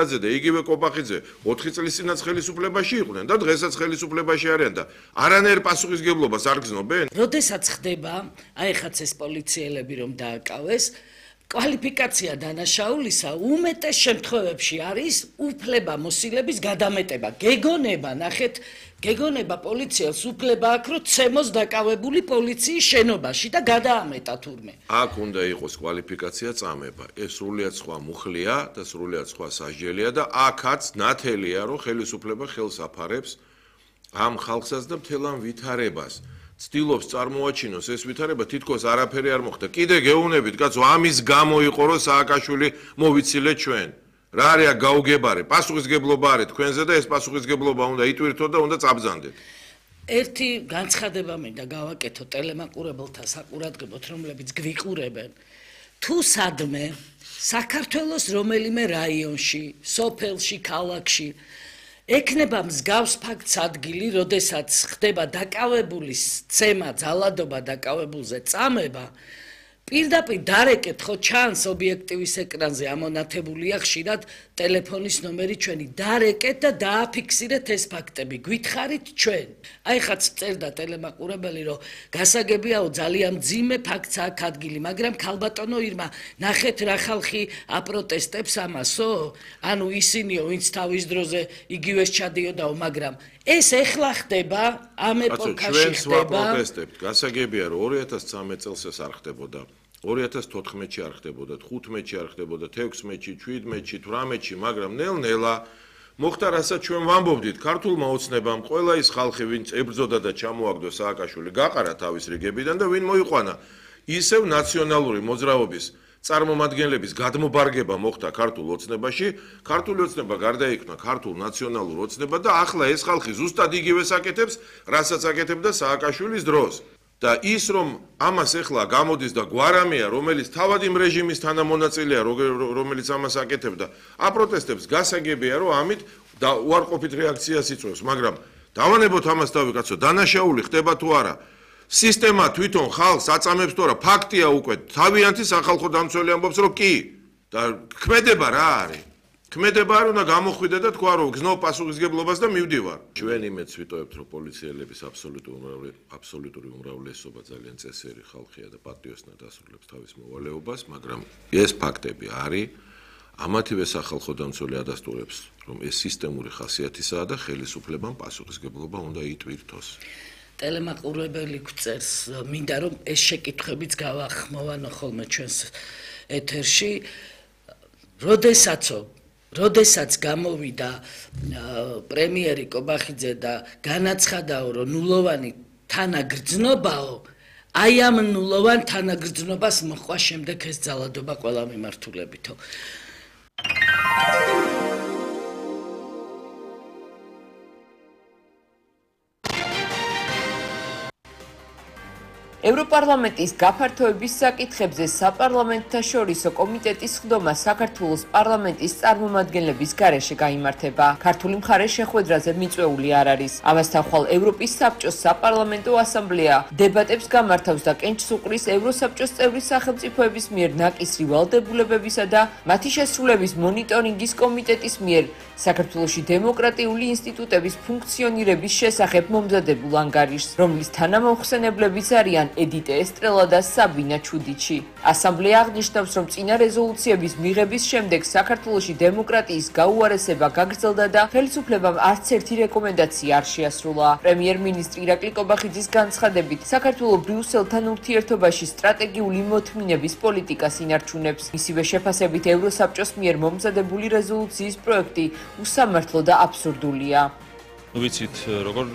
და იგივე კობახიძე 4 წლის წინაც ხელისუფლებაში იყვნენ და დღესაც ხელისუფლებაში არიან და არანაირ პასუხისგებლობას არ გრძნობენ? როდესაც ხდება, აი ხაც ეს პოლიციელები რომ დააკავეს, კვალიფიკაცია დანაშაულისა უმეტეს შემთხვევებში არის უფლება მოსილების გადამეტება. გეგონება, ნახეთ, გეგონება პოლიციელს უფლება აქვს, რომ ცემოს დაკავებული პოლიციის შენობაში და გადაამეტა თურმე. აქ უნდა იყოს კვალიფიკაცია წამება. ეს სრულიად სხვა მუხლია და სრულიად სხვა სასჯელია და აქაც ნათელია, რომ ხელისუფლება ხელს აფარებს ამ ხალხსაც და მთელ ამ ვითარებას. ცდილობს წარმოაჩინოს ეს ვითარება, თითქოს არაფერი არ მოხდა. კიდე გეუბნებით, კაცო, ამის გამო იყო, რომ სააკაშვილი მოვიცილეთ ჩვენ. რა არის გაუგებარი? პასუხისგებლობა არის თქვენზე და ეს პასუხისგებლობა უნდა იტვირთოთ და უნდა წაბრძანდეთ. ერთი განცხადება მინდა გავაკეთო ტელემაყურებელთა საყურადღებოდ, რომლებიც გვიყურებენ. თუ სადმე საქართველოს რომელიმე რაიონში, სოფელში, ქალაქში ექნება მსგავს ფაქტს ადგილი, როდესაც ხდება დაკავებულის ცემა, ძალადობა დაკავებულზე წამება, პირდაპირ დარეკეთ, ხო ჩანს ობიექტივის ეკრანზე ამონათებულია ხშირად ტელეფონის ნომერი ჩვენი, დარეკეთ და დააფიქსირეთ ეს ფაქტები, გვითხარით ჩვენ. აი ხაც წერდა ტელემაყურებელი, რომ გასაგებიაო ძალიან მძიმე ფაქტს აქვს ადგილი, მაგრამ ქალბატონო ირმა, ნახეთ რა ხალხი აპროტესტებს ამასო, ანუ ისინიო, ვინც თავის დროზე იგივე ჩადიოდაო, მაგრამ ეს ეხლა ხდება, ამ ეპოქაში ხდება. ჩვენ ვაპროტესტებთ, გასაგებია, რომ 2013 წელს ეს არ ხდებოდა. 2014-ში არ ხდებოდა, 15-ში არ ხდებოდა, 16-ში, 17-ში, 18-ში, მაგრამ ნელ-ნელა მოხდა, რასაც ჩვენ ვამბობდით, ქართულმა ოცნებამ ყველა ის ხალხი, ვინც ებრძოდა და ჩამოაგდო სააკაშვილი, გაყარა თავის რიგებიდან და ვინ მოიყვანა. ისევ ნაციონალური მოძრაობის წარმომადგენლების გადმობარგება მოხდა ქართულ ოცნებაში, ქართული ოცნება გარდაიქმნა ქართულ ნაციონალურ ოცნებად და ახლა ეს ხალხი ზუსტად იგივეს აკეთებს, რასაც აკეთებდა სააკაშვილის დროს. და ის რომ ამას ეხლა გამოდის და გვარამია, რომელიც თავად იმ რეჟიმის თანამონაწილეა, რომელიც ამას აკეთებდა, აპროტესტებს, გასაგებია, რომ ამით უარყოფით რეაქციას იწვევს, მაგრამ დავანებოთ ამას თავი, კაცო, დანაშაული ხდება თუ არა? სისტემა თვითონ ხალხს აწამებს თუ არა? ფაქტია უკვე, თავიანთი სახალხო დამცველი ამბობს, რომ კი. და ქმედება რა არის? ქმედება არ უნდა გამოხვიდე და თქვა, რომ გზნო პასუხისგებლობას და მივდივარ. ჩვენ იმედს ვიტოვებთ, რომ პოლიციელების აბსოლუტური უმრავლესობა ძალიან წესიერი ხალხია და პატიოსნად ასრულებს თავის მოვალეობას, მაგრამ ეს ფაქტები არის. ამათივე სახალხო დამცველი ადასტურებს, რომ ეს სისტემური ხასიათისაა და ხელისუფლებამ პასუხისგებლობა უნდა იტვირთოს. ტელემაყურებელი გვწერს, მინდა რომ ეს შეკითხვებიც გავახმოვანო ხოლმე ჩვენს ეთერში, როდესაც გამოვიდა პრემიერი კობახიძე და განაცხადაო, რომ ნულოვანი თანაგრძნობაო, აი ამ ნულოვან თანაგრძნობას მოყვა შემდეგ ეს ძალადობა ყველა მიმართულებითო. ევროპარლამენტის გაფართოების საკითხებზე საპარლამენტთაშორისო კომიტეტის ხდომა საქართველოს პარლამენტის წარმომადგენლების გარეშე გაიმართება. ქართული მხარე შეხვედრაზე მიწვეული არ არის. ამასთან ხვალ ევროპის საბჭოს საპარლამენტო ასამბლეა დებატებს გამართავს და კენჭს უყრის ევროსაბჭოს წევრი სახელმწიფოების მიერ ნაკისრი ვალდებულებებისა და მათი შესრულების მონიტორინგის კომიტეტის მიერ საქართველოში დემოკრატიული ინსტიტუტების ფუნქციონირების შესახებ მომზადებულ ანგარიშს, რომლის თანამოხსენებლებიც არიან ედიტე ესტრელა და საბინა ჩუდიჩი. ასამბლეა აღნიშნავს, რომ წინა რეზოლუციების მიღების შემდეგ საქართველოში დემოკრატიის გაუარესება გაგრძელდა და ხელისუფლებამ არც ერთი რეკომენდაცია არ შეასრულა. პრემიერ-მინისტრი ირაკლი კობახიძის განცხადებით, საქართველო ბრიუსელთან ურთიერთობაში სტრატეგიული მოთმინების პოლიტიკას ინარჩუნებს. მისივე შეფასებით, ევროსაბჭოს მიერ მომზადებული რეზოლუციის პროექტი უსამართლო და აბსურდულია. ვიცით, როგორ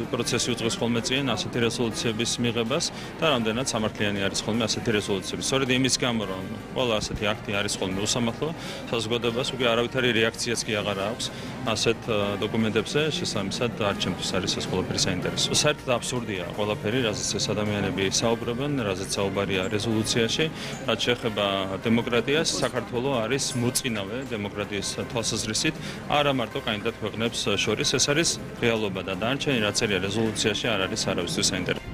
პროცესი უძღვის ხოლმე წინ ასეთი რეზოლუციების მიღებას და რამდენად სამართლიანი არის ხოლმე ასეთი რეზოლუციები. სწორედ იმის გამო, რომ ყველა ასეთი აქტი არის ხოლმე უსამართლო, საზოგადოებას უკვე არავითარი რეაქციაც კი აღარ აქვს ასეთ დოკუმენტებზე, შესაბამისად არც ჩემთვის არის ეს ყველაფერი საინტერესო. საერთოდ აბსურდია ყველაფერი, რაზეც ეს ადამიანები საუბრობენ, რაზეც საუბარია რეზოლუციაში, რაც შეეხება დემოკრატიას, საქართველო არის მოწინავე დემოკრატიის თვალსაზრისით, არა მარტო კანდიდატ ქვეყნებს შორის, ეს არის რეალობა და დანარჩენი რაც წერია რეზოლუციაში არ არის არავისთვის საინტერესო.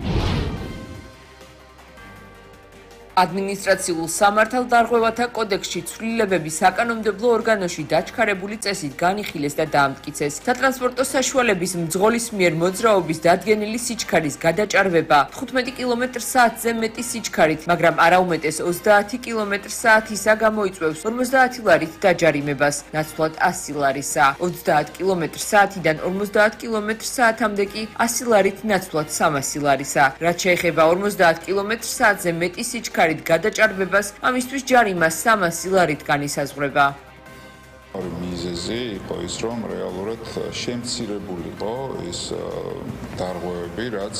ადმინისტრაციულ სამართალდარღვევათა კოდექსში ცვლილებები საკანონმდებლო ორგანოში დაჩქარებული წესით განიხილეს და დაამტკიცეს. სატრანსპორტო საშუალების მძღოლის მიერ მოძრაობის დადგენილი სიჩქარის გადაჭარბება 15 კმ/სთ-ზე მეტი სიჩქარით, მაგრამ არაუმეტეს 30 კმ/სთ-ისა გამოიწვევს 50 ლარით დაჯარიმებას, ნაცვლად 100 ლარისა. 30 კმ/სთ-დან 50 კმ/სთ-მდე კი 100 ლარით ნაცვლად 300 ლარისა. რაც შეეხება 50 კმ/სთ-ზე მეტი სიჩქარით გადაჭარბებას, ამისთვის ჯარიმა 300 ლარით განისაზღვრება. მიზეზი იყო ის, რომ რეალურად შემცირებულიყო ის დარღვევები, რაც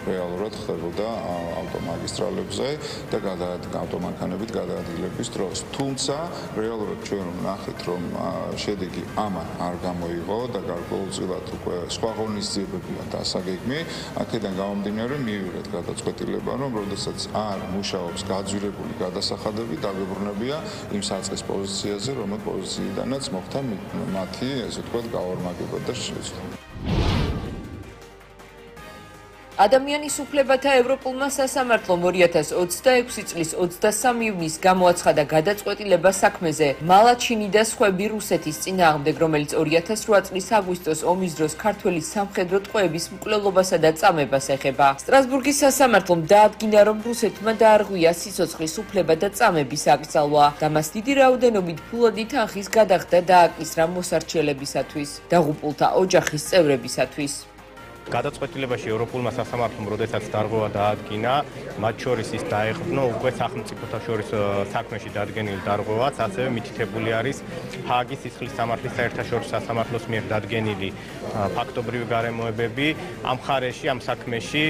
რეალურად ხდებოდა ავტომაგისტრალებზე და ავტომანქანებით გადაადგილების დროს. თუმცა რეალურად ჩვენ ვნახეთ, რომ შედეგი ამან არ გამოიღო და გარკვეულწილად უკვე სხვა ღონისძიებებია დასაგეგმი. აქედან გამომდინარე მივიღეთ გადაწყვეტილება, რომ როდესაც არ მუშაობს გაძვირებული გადასახადები, დაგებრუნებია იმ საწყის პოზიციაზე, რომელ პოზიციიდანაც მოხდა მათი, ესე ვთქვათ, გაორმაგება და შეცვლა. ადამიანის უფლებათა ევროპულმა სასამართლომ 2026 წლის 23 ივნისს გამოაცხადა გადაწყვეტილება საქმეზე მალაჩინი და სხვები რუსეთის წინააღმდეგ, რომელიც 2008 წლის აგვისტოს ომის დროს ქართველი სამხედრო ტყვეების მკვლელობასა და წამებას ეხება. სტრასბურგის სასამართლომ დაადგინა, რომ რუსეთმა დაარღვია სიცოცხლის უფლება და წამების აკრძალვა და მას დიდი რაოდენობით ფულადი თანხის გადახდა დააკისრა მოსარჩელებისათვის, დაღუპულთა ოჯახის წევრებისათვის. გადაწყვეტილებაში ევროპულმა სასამართლომ როდესაც დარღვევა დაადგინა, მათ შორის ის დაეყრდნო უკვე სახელმწიფოთა შორის საქმეში დადგენილ დარღვევას, ასევე მითითებული არის ჰააგის სისხლის სამართლის საერთაშორისო სასამართლოს მიერ დადგენილი ფაქტობრივი გარემოებები. ამ მხარეში, ამ საქმეში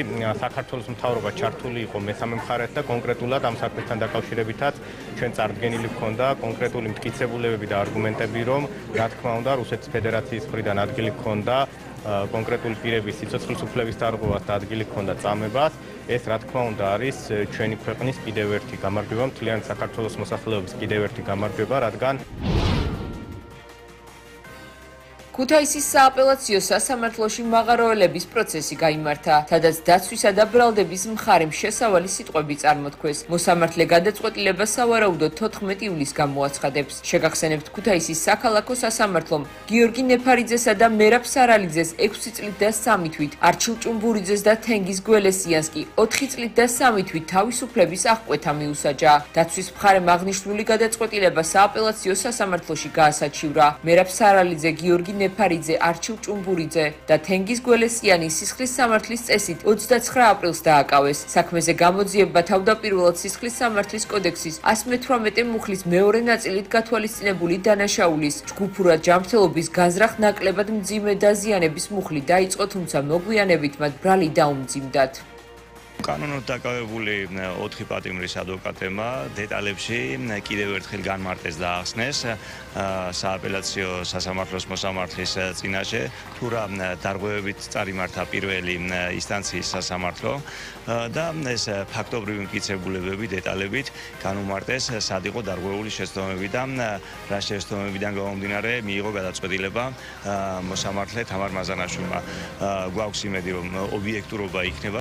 საქართველოს მთავრობა ჩართული იყო მესამე მხარეს და კონკრეტულად ამ საქმესთან დაკავშირებითაც ჩვენ წარდგენილი ჰქონდა კონკრეტული მტკიცებულებები და არგუმენტები, რომ რა თქმა უნდა რუსეთის ფედერაციის მხრიდან ადგილი ჰქონდა კონკრეტული პირების სიცოცხლის უფლების დარღვევას და ადგილი ჰქონდა წამებას. ეს რა თქმა უნდა არის ჩვენი ქვეყნის კიდევ ერთი გამარჯვება, მთლიანი საქართველოს მოსახლეობის კიდევ ერთი გამარჯვება, რადგან ქუთაისის სააპელაციო სასამართლოში მაღაროელების პროცესი გაიმართა, სადაც დაცვისა და ბრალდების მხარემ შესავალი სიტყვები წარმოთქვეს. მოსამართლე გადაწყვეტილებას სავარაუდოდ 14 ივლისს გამოაცხადებს. შეგახსენებთ, ქუთაისის საქალაქო სასამართლომ გიორგი ნეფარიძესა და მერაბ სარალიძეს 6 წლით და 3 თვით, არჩილ ჭუმბურიძეს და თენგიზ გველესიანს კი 4 წლით და 3 თვით თავისუფლების აღკვეთა მიუსაჯა. დაცვის მხარემ აღნიშნული გადაწყვეტილება სააპელაციო სასამართლოში გაასაჩივრა. მერაბ სარალიძე, გიორგი ნეფარიძე, არჩილ ჭუმბურიძე და თენგიზ გველესიანი სისხლის სამართლის წესით 29 aprils დააკავეს. საქმეზე გამოძიება თავდაპირველად სისხლის სამართლის კოდექსის 118 მუხლის მეორე ნაწილით გათვალისწინებული დანაშაულის ჯგუფურად ჯანმრთელობის განზრახ ნაკლებად მძიმე დაზიანების მუხლი დაიწყო, თუმცა მოგვიანებით მათ ბრალი დაუმძიმდათ. კანონოდ დაკავებული 4 პატიმრის ადვოკატებმა დეტალებში კიდევ ერთხელ განმარტეს და ახსნეს სააპელაციო სასამართლოს მოსამართლის წინაშე, თუ რა დარღვევებით წარიმართა პირველი ინსტანციის სასამართლო და ეს ფაქტობრივი მტკიცებულებები დეტალებით განუმარტეს, სად იყო დარღვეული შეცდომები და რა შეცდომებიდან გამომდინარე მიიღო გადაწყვეტილება მოსამართლე თამარ მაზანაშვილმა. გვაქვს იმედი, რომ ობიექტურობა იქნება.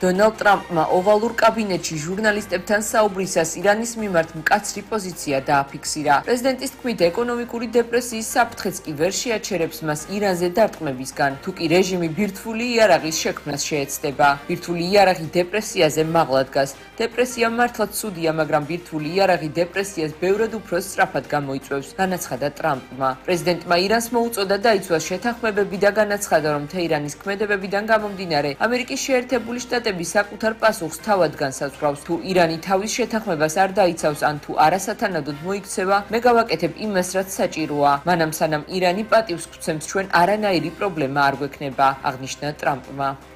დონალდ ტრამპმა ოვალურ კაბინეტში ჟურნალისტებთან საუბრისას ირანის მიმართ მკაცრი პოზიცია დააფიქსირა. პრეზიდენტის თქმით, ეკონომიკური დეპრესიის საფრთხეც კი ვერ შეაჩერებს მას ირანზე დარტყმებისგან, თუ კი რეჟიმი ბირთვული იარაღის შექმნას შეეცდება. ბირთვული იარაღი დეპრესიაზე მაღლა დგას. დეპრესია მართლაც ცუდია, მაგრამ ბირთვული იარაღი დეპრესიას ბევრად უფრო სწრაფად გამოიწვევს, განაცხადა ტრამპმა. პრეზიდენტმა ირანს მოუწოდა დაიცვა შეთანხმებები და განაცხადა, რომ თეირანის ქმედებებიდან გამომდინარე, ამერიკის შეერთებული შტატები საკუთარ პასუხს თავად განსაზღვრავს. თუ ირანი თავის შეთანხმებას არ დაიცავს ან თუ არასათანადოდ მოიქცევა, მე გავაკეთებ იმას, რაც საჭიროა. მანამ სანამ ირანი პატივს გვცემს, ჩვენ არანაირი პრობლემა არ გვექნება, აღნიშნა ტრამპმა.